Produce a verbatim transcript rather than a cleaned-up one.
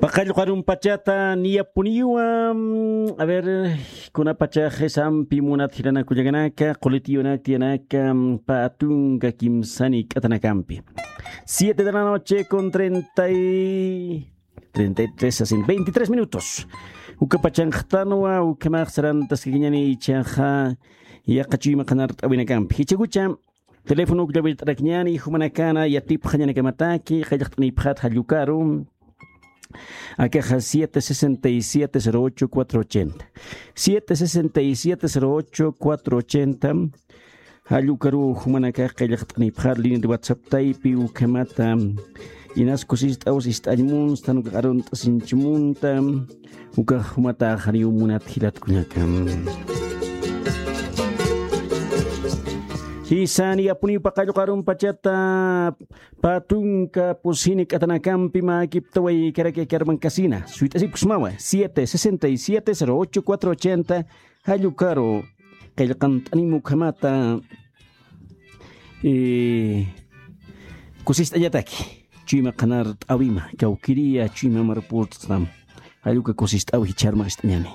Paqallqarum pachata niyapuniwa. A ver, kuna pachaxi sampi munat jiranaka kullakanaka, qulitiwanaka tiyanaka, patunka kimsani k'atanakampi. Siete de la noche con treinta y treinta y tres, así, veintitrés minutos. Uka pachanxtanwa, ukhamax sarantaskakiñani ichaxa, yaqachuy maqanar t'awinakampi. Ichakucha, teléfono uklawirt'arakñani, jumanakana, yatipxañanakamataki, qillqt'anipxat jallukaru. Akaxa siete sesenta y siete cero ocho cuatro ochenta. Siete sesenta y siete cero ocho cuatro ochenta. Jallukaru jumanaka qillqt'anipxar línea de WhatsApp taypi ukhamata. Inas kusist'aw sist'allmunsta, nuka arunt'asinchmunta. Uka jumata janiw munat jilatkuñaka. Jisani apuniw paqallqarum pachata patunka pusini k'atanakampi makiptaway karaki karmankasina. Suyt'asipxsmawa, siete sesenta y siete cero ocho cuatro ochenta, jallukaru qillqant'anim ukhamata, eh, kusist'añataki, chuyma qhanar t'awima, kawkiriya, chuyma marpurt'stam, jalluka kusist'aw jicharma ast'añani.